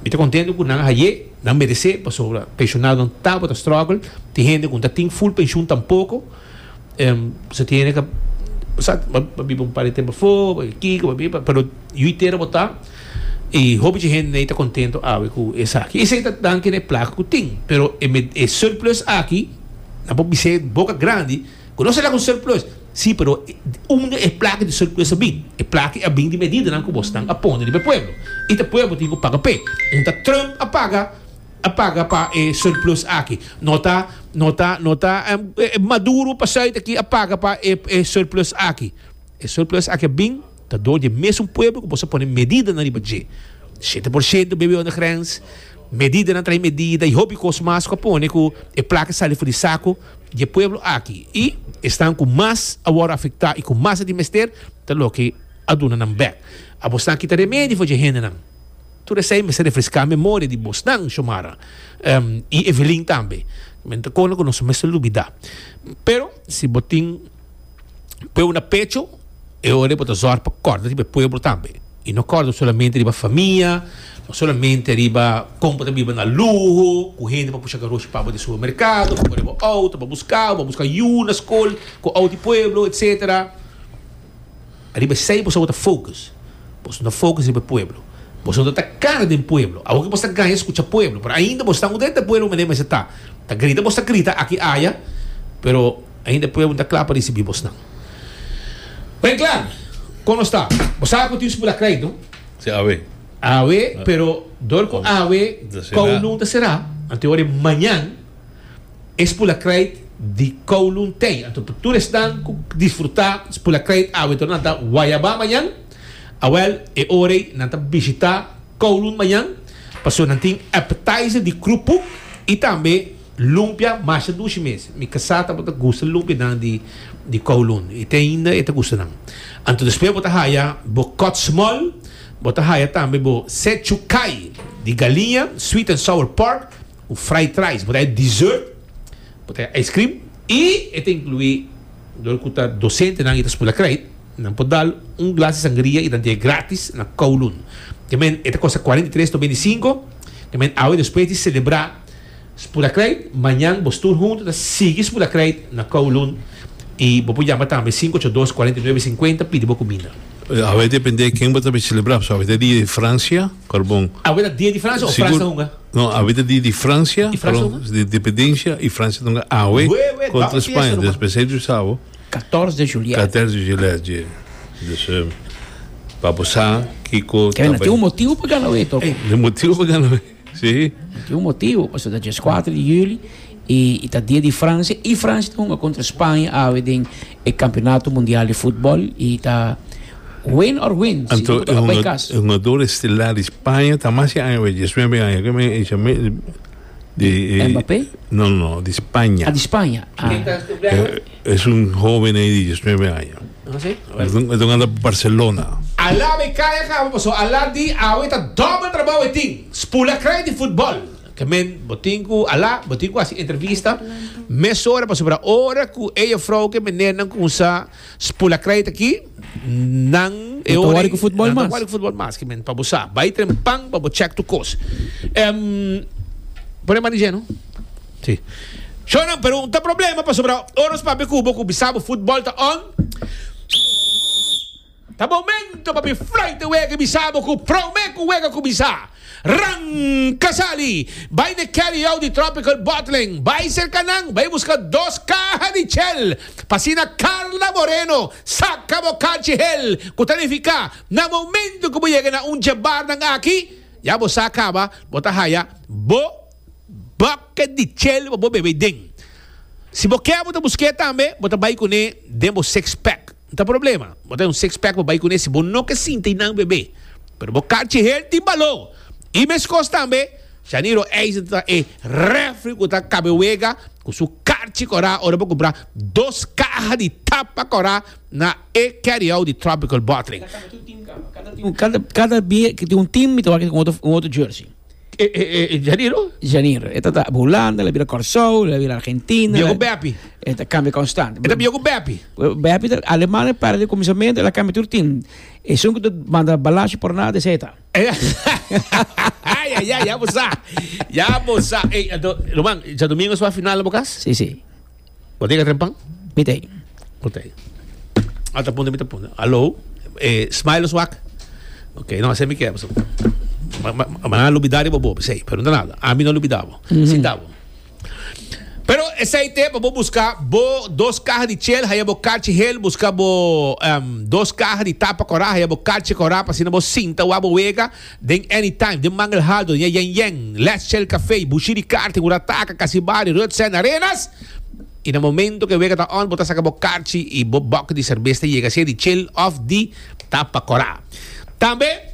A: Mi ta kontentu ku nan a hay'é, nan meresé, pasobra penshonadonan tabata struggle. Tin hende ku no ta tin full penshun tampoko. Pasobra tin hende ku sa bo biba un par di tempu afó, bo kiko, bo biba, pero yu i tera bo ta. I hopi dje hende ta kontento awe ku esaki. Esei ta danki na e plaka ku tin. Pero e e surplus aki, nan por bis'é boka grandi ku no será ku surplus. Sí, pero unda e plaka di surplus a bin? E plaka a bin di medidanan ku bosnan a pone riba e pueblo. I ta pueblo tin ku paga p'e. Un ta Trump a paga a paga pa e surplus aki. No ta no ta no ta Maduro pa sùit aki a paga pa e e surplus aki. E surplus aki a bin ta dor di e mesun pueblo ku boso a pone medidanan riba dje. Shete por shento bebe onder grens, medidanan trae medida i hopi kos mas ku a pone ku e plaka sali for di sako di e pueblo aki. I esnan ku mas a wòrdu afektá i ku mas a tin mester ta loke a duna nan bèk. A bosnan kita remedi for dje hendenan. Tur esei mester refreská memoria di bosnan, Shomara i Evelyn tambe. Men ta kona ku nos mester lubidá. Pero si bo tin pueblo na pecho, e ora bo ta zòrg pa kòrda riba e pueblo tambe. I no kòrda solamente riba famia, no solamente riba kon bo ta biba na luho, ku hende pa pusha garoshi pa bo di supermerkado, pa kore bo outo, pa buska bo, pa buska yu na skol ku outo di pueblo, etsetera. Riba esei boso bo ta focus. Boso no focus riba e pueblo. Boso no ta cara den pueblo. Awor ke boso ta gaña scucha pueblo, pero ainda boso ta un dentro pueblo manera mester ta. Ta grita boso ta grita aki aya, pero ainda e pueblo no ta cla pa ricibi bosnan. Ben cla, con nos ta? Bo sa cu tin spula krijt, no?
B: Si, awe.
A: Awe, pero dor cu awe Kowloon ta cera, anto e ora mañan E spula krijt di Kowloon tei. Anto pa tur esnan ku disfrutá spula krijt awe tor nan ta Guayabá mañan. Awèl e ora ei nan ta bishitá Kowloon mañan pasobra nan tin appetizer di krupuk i tambe lumpia masha dushi mes. Mi kasá tabata gusta lumpianan di di Kowloon i te ainda e ta gusta nan. Anto despues bo ta haya bo kòt smòl, bo ta haya tambe bo sechukai di galiña, sweet and sour pork, Ku fried rice, bo ta e dessert, bo ta e ice cream i e ta inclui dor ku ta docentenan i ta spula krijt, nan por dal un glas di sangria i nan tin e gratis na Kowloon. Te men e ta kosta cuarenta i tres noventa i cinco, te men awe despues di celebra spula krijt, mañan bos tur hunto ta sigui spula krijt na Kowloon i bo por yama tambe sinku ocho dos cuarenta i nuebe cincuenta pidi bo kuminda.
B: Awe depende ken bo ta bay celebra, pasobra awe ta dia di Francia, carbon.
A: Awe ta dia di Francia o Frans ta hunga?
B: No, awe ta dia di Francia,
A: I Frans ta hunga?
B: Di independencia, i Francia ta hunga awe contra Spaña, dus pesey di sabo.
C: Catorce de juliet.
B: Catorce de juliet, je. Dus pa bo sa kico ta bay.
C: Tin un motibo pa gana awe, toch?
B: Tin un motibo pa gana awe, si.
C: Tin un motibo, pasobra ta diescuater di juli. I ta dia di Francia i Francia ta hunga contra Spaña awe den e campeonato mundial di futbol i ta win or win si
B: Anto
C: no bo ta bai cas.
B: E hungador estelar di Spaña ta mas di aña awe, diesnuebe aña, ke men e chama di
C: Mbappé?
B: No no no, di Spaña.
C: Ah di Spaña, ah.
B: Es un hoben ei di diesnuebe aña. E ta hungando pa Barcelona.
A: Ala mi kaya kaba pasobra ala di awe ta dobel trabou e tin, spula krai di futbol. Ke men bo tin ku ala, bo tin ku hasi entrevista mesora pasobra ora ku e jefrou ku e menernan kumsa spula krijt aki, nan e
C: No ta
A: ora
C: wòri ku futbòl
A: nan ta
C: mas.
A: wòri ku futbòl mas. Ke men pa bo sa, bai tren pan pa bo chèk tur kos. Em, pone man di dje no? Si. Shownan, pero un ta problema pasobra ora nos papia ku bo ku bisa bo futbòl ta on. Ta momento pa mi fluit e wega i bisa bo ku prome ku wega kuminsá. Ranka sali! Bai na e carry out di Tropical Bottling, bai serka nan, bai buska dos kaha di chel pa asina Carla Moreno saka bo kachi hel ku ta nifiká na momento ku bo yega na un dje barnan aki ya bo sa kaba bo ta haya bo bucket di chel pa bo bebe den. Si bo ke bo ta busk'é tambe, bo ta bai kuné den bo six pack. No ta problema. Bo ta un six pack bo bai kuné si bo no ke sinta einan bebe. Pero bo karchi hel tin balor. I meskos tambe, Shaniro Eisen ta e refri ku ta kabe wega ku su karchi kòrá ora bo kumpra dos kaha di tapa kòrá na e carry out di Tropical Bottling.
C: Kada kada bia ku tin un team mi ta wak un otro un otro jersey.
A: E e e Janiro?
C: Janiro. E ta ta Hulanda, el a bira Kòrsou, el a bira Argentina.
A: Bia ku Beppie.
C: E ta kambia konstant.
A: E ta bia ku Beppie.
C: Beppie ta Aleman e para di kuminsamentu el a kambia tur team. Esun ku ta manda balashi por nada esei ta.
A: Ay ay ay ya bo sa. Ya bo sa. Ey anto Roman djadumingo su a final na bo kas?
C: Si si.
A: Bo tin trempan?
C: Mi ta ei.
A: Bo ta ei. A ta punta mi ta punta. Alo, eh Smile lo swak? Ok, no esei mi ke pasobra ma nan a lubida riba bo p'esei, pero no ta nada. Ami no a lubida bo. Sinta bo. Pero esei te pa bo buska bo dos kaha di chel, haya bo karchi hel, buska bo dos kaha di tapa kòrá, haya bo karchi kòrá pa asina bo sinta wak bo wega den anytime, den Mangel Haldo, den Yen Yen, Let's Chel Café, Bushiri Karting, Urataka, Kasibari, Rutsen, Arenas. I na momento ku e wega ta on, bo ta saka bo karchi i bo bòk di serbes ta yega, sea di chel òf di tapa kòrá. Tambe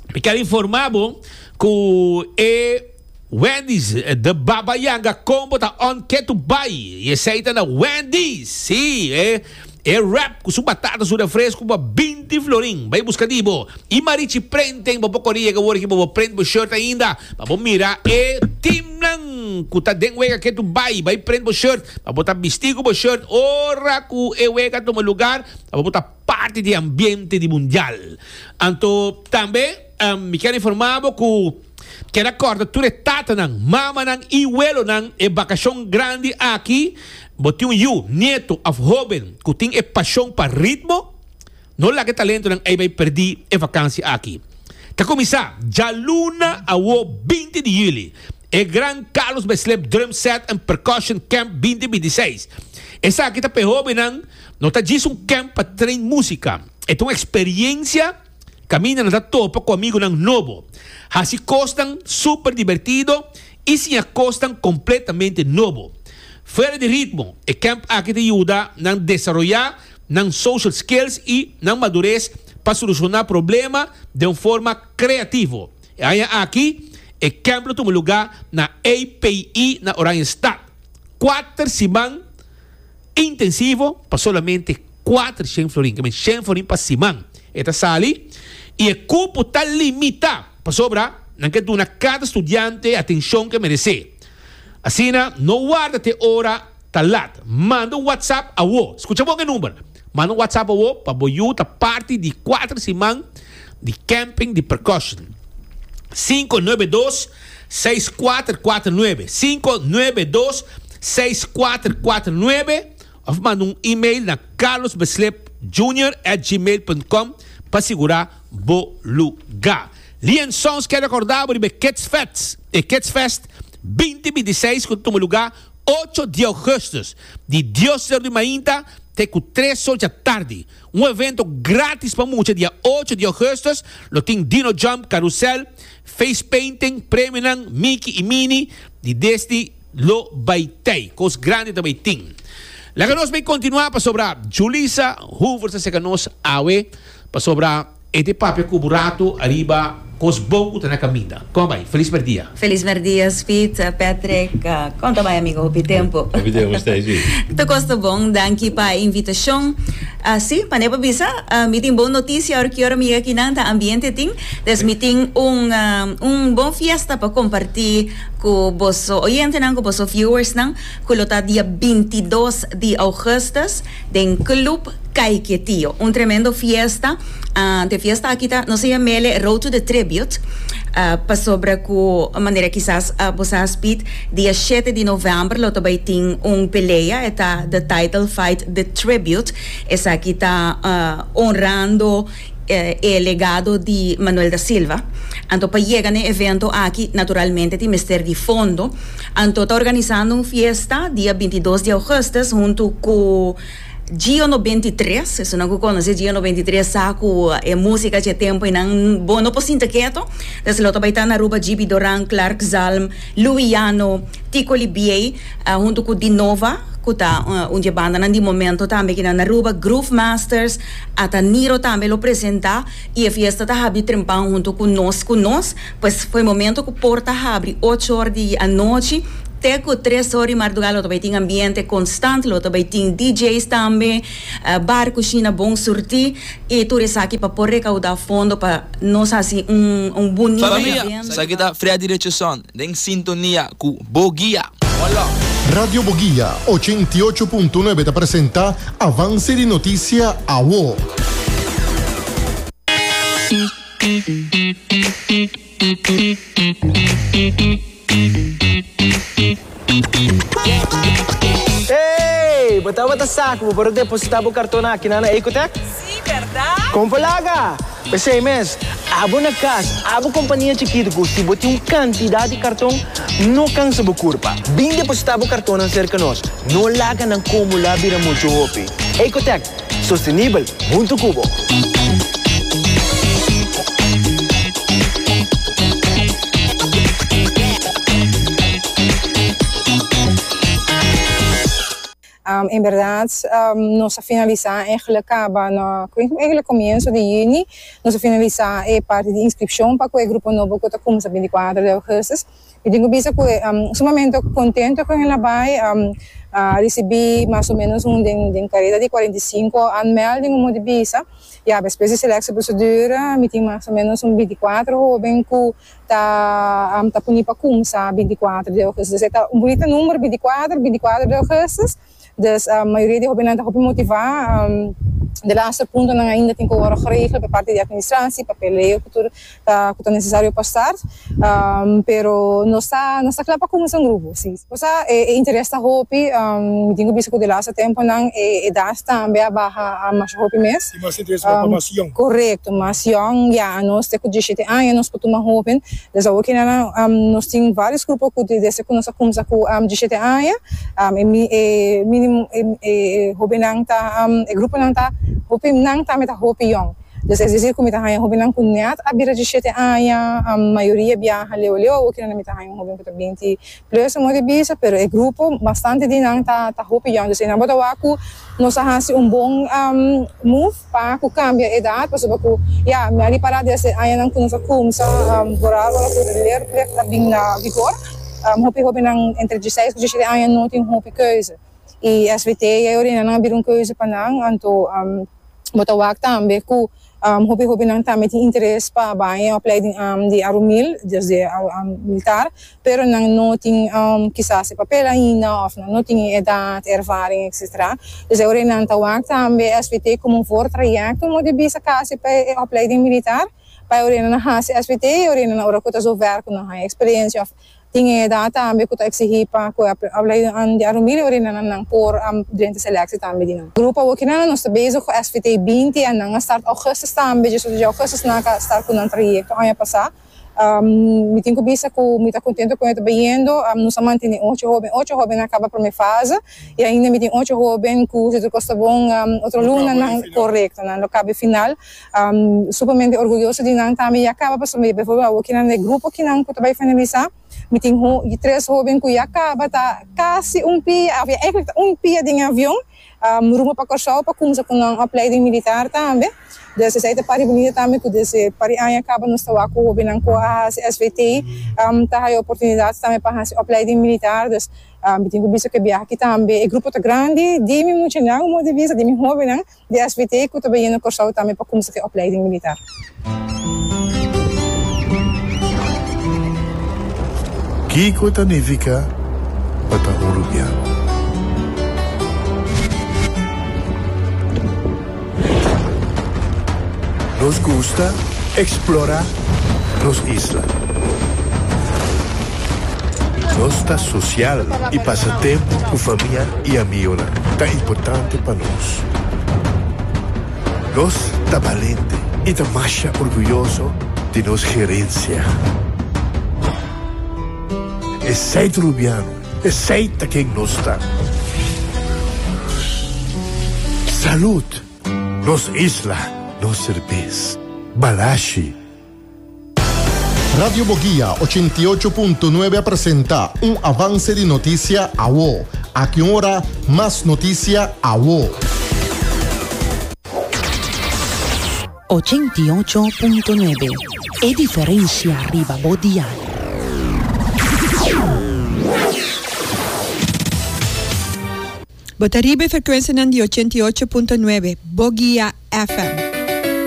A: mi kier informá bo ku e Wendy's The Baba Yanga Combo ta on ketu bai i esei ta na Wendy's. Sí, e e wrap ku su batata, su refresco pa binti florin. Bai buska di bo. I Marichi Printing, bo por kore yega awor aki pa bo print bo shirt ainda pa bo mira e teamnan ku ta den wega ketu bai, bai prent bo shirt pa bo ta bisti ku bo shirt ora ku e wega tuma lugar, pa bo ta parti di e ambiente di mundial. Anto tambe mi kier informa bo ku kier a kòrda tur e tatanan, mamanan i welonan e bakashon grandi aki. Bo tin un yu, nieto òf hóben ku tin e pashon pa ritmo? No laga e talentonan ei bai perdí e vakansi aki. Ta kuminsá djaluna awo binti di yüli e gran Carlos Beslep Drum Set and Percussion Camp binti binti i seis. Esaki ta pa e hóbennan, no ta djis un camp pa train músika, e ta un eksperiensia kaminda nan ta topa ku amigunan nobo, hasi kosnan super dibertido i siña kosnan kompletamente nobo. Fuera di ritmo, e camp aki ta yuda nan desaroyá nan social skills i nan madures pa solushoná problema den un forma kreativo. E aña aki e camp lo tuma lugá na A P I na Oranjestad. Kuater siman intensivo pa solamente kuater shen florin, ke men shen florin pa siman e ta sali i e kupo ta limitá pasobra nan ke duna kada studiante e atenshon ke meresé. Asina no warda te ora ta lat. Manda un WhatsApp awo. Skucha bon e number. Manda un WhatsApp awo pa bo yu ta parti di kuater siman di camping di percussion. Sinku nuebe dos, seis kuater kuater nuebe. Sinku nuebe dos, seis kuater kuater nuebe òf manda un email na carlosbeslipjunior at gmail punt com pa sigurá bo lugá. Lien Sons kier rekordá bo riba e Kids Fest, e Kids Fest binti binti i seis ku ta tuma lugá ocho di augustus, di dios ser di mainta te ku tres or djatardi. Un evento gratis pa mucha dia ocho di augustus lo tin Dino Jump, Carrousel, Face Painting, premionan Mickey y Minnie di Disney lo bai tei. Kos grandi ta bai tin. Laga nos bai kontinua pasobra Julissa Hoover ta seka nos awe pasobra e te papia ku bo rato ariba kos bon ku ta na kaminda. Kon bai? Felis merdia.
F: Felis merdia Speed, Patrick. Kon ta bai amigo? Hopi tempu.
B: Hopi tempu Stacy.
F: Tur kos ta bon. Danki pa e invitashon. Si, manera bo bisa, mi tin bon notisia ora ki ora mi yega akinan ta ambiente tin. Des mi tin un un bon fiesta pa kompartí ku boso oyentenan, ku boso viewersnan, ku lo ta dia binti dos di augustus den Club Caiquetio. Un tremendo fiesta. Te fiesta aki ta, nos a yam'ele Road to the Tribute, pasobra ku manera kisas bo sa Speed, dia shete di novèmber lo ta bai tin un pelea, e ta The Title Fight The Tribute. Esaki ta honrando e legado di Manuel da Silva. Anto pa yega na e evento aki naturalmente tin mester di fondo. Anto ta organisando un fiesta dia binti dos di augustus huntu ku Gio noventa i tres, esunnan ku konosé Gio noventa i tres sa ku e músika dje tempu einan bo no por sinta ketu. Dus lo ta bai ta na Aruba G B Doran, Clark Zalm, Luiano, Tico Libier, uh, huntu ku Dinova, ku ta uh, un banda di momento tambe aki na Aruba, Groove Masters, ata Niro tambe lo presentá i e fiesta ta habri trempan huntu ku nos ku nos, pues for di momento ku porta habri ocho or di anochi te ku tres or di mardugá lo tambe tin ambiente konstante, lo tambe tin D Js tambe, uh, bar, kushina bon surtí i tur esaki pa por rekoudá fondo pa nos hasi un un bunita
G: Famia,
F: evento.
G: Esaki ta Freddy Richardson, den sintonia ku Boguia. Hola.
H: Radio Boguia ochenta i ocho punto nuebe ta presentá Avance di Notisia Awo.
I: Hey, bo tabata sa ku bo por depositá bo karton aki na Ecotech?
F: Si, berdat?
I: Kon laga? P'esei mes, abo na kas, abo kompania chikitu, si bo tin un kantidat di karton, no kansa bo kurpa. Bin depositá bo karton serka nos. No laga nan akumulá bira muchu hopi. Ecotech, sostenibel, huntu ku bo.
J: Um, inderdaad, um, nos a finalisá eigenlijk kaba na eigenlijk komienso di yüni, nos a finalisá e parti di inskripshon pa e grupo nobo ku ta kuminsá binti kuater di ougùstùs. I tin ku bisa ku um, sumamente kontentu ku el a bai, um, uh, risibí mas o ménos un den, den kareda di kuarenta i sinku aanmelding om di bisa. Ja, despues di selectieprocedure, mi tin mas o ménos un binti kuater hóben ku ta um, ta poní pa kuminsá binti kuater di ougùstùs. Dus ta un bunita number binti kuater, binti kuater di ougùstùs. Dus uh, mayoria di hóbennan ta hopi motivá. Um, de laatste puntonan ainda tin ku wòrdu geregeld pa parti di administratie, papeleo ku tur ta ku ta nesesario pa start. Um, pero nos ta nos ta kla pa kuminsá un grupo, si. Osea, e, e interes ta hopi, um, tin ku bisa ku de laatste temponan e edat tambe a baha mas hopi mes.
K: I mas interes pa
J: Um,
K: mas yong.
J: Korekto, mas yong, ja, nos te ku diesshete aña nos por tuma hóben. Dus ook na um, nos tin vários grupo ku desde ku nos a kuminsá ku um, diesshete aña, um, e, mi, e mínimo e, e, hóbennan ta um, e gruponan ta hopinan ta ta hopi yong. Dus es decir, ku mi ta haña hóbennan ku net a bira diesshete aña, um, mayoria biaha leu leu, ook na mi ta haña hóben ku ta binti plus mo di bisa, pero e grupo bastante di nan ta ta hopi yong. Dus einan bo ta wak ku nos a hasi un bon um, move pa ku kambia edat, pasobra ku ja, mi a ripará desde añanan ku nos a kuminsá um, vooral ora ku leerplicht a bin na vigor. Um, hopi hóbennan entre diesseis i diesshete aña no tin hopi keuze. I S V T e ora nan a bira un keuze pa nan, anto um, bo ta wak tambe ku um, hopi hóbennan tambe tin interes pa bai opleiding um, di Arumil, dus di um, militar, pero nan no tin um, kisas papel ainda, òf nan no tin edat, ervaring, et cetera. Dus ora nan ta wak tambe S V T komo un voortraject om di bisa kasi pa e opleiding militar, pa ora nan hasi S V T, ora nan ora ku ta zover ku nan haña eksperensia òf tin edat tambe ku ta eksigí pa ku opleiding di Arumil, ora nan nan por um, durante selectie tambe di nan. Grupo ook nan nos ta bezig ku S V T binti en nan a start augustus tambe, dus di augustus nan a start ku nan trayekto aña pasá. Um, mi tin ku bisa ku mi ta kontentu ku ta bayendo, um, nos a mantené ocho hóben, ocho hóben a kaba promé fase i ainda mi tin ocho hóben ku si tur kos ta bon um, otro luna nan korekto, nan lo kaba final. Um, sumamente orguyoso di nan tambe ya kaba, pasobra bijvoorbeeld ook nan grupo ku nan ku ta bai finalisá. Mi tin ho, tres hóben ku ya kaba ta kasi un pia, of ja, eigenlijk un pia den avion, um, rumbo pa Kòrsou pa kuminsá ku un opleiding militar tambe. Dus esei ta parti bunita tambe ku desde par aña kaba nos ta ku hóbennan ku a S V T um, ta haya oportunidat tambe pa hasi opleiding militar. Dus um, mi tin ku bisa ku biaha aki tambe e grupo ta grandi, di mi muchanan, modo di bisa, di mi hóbennan, di S V T ku ta na Kòrsou tambe pa kuminsá ku opleiding militar.
L: Kiko ta nifiká pa ta un rubiano? Nos gusta eksplorá nos isla. Nos ta sosial i pasa tempu ku famia i amigu. Ta importante pa nos. Nos ta balente i ta mas orguyoso di nos herensia. Esei ta rubiano, esei ta ken nos ta. Salud! Nos isla, nos serbes. Balashi.
H: Radio Boguia ochenta i ocho punto nuebe a presenta un avance di noticia awo. Aki un ora, mas noticia awo.
K: Ochenta i ocho punto nuebe, e diferencia riba bo dial.
M: Bo ta riba e frecuencianan di ochenta i ocho punto nuebe, Boguia F M.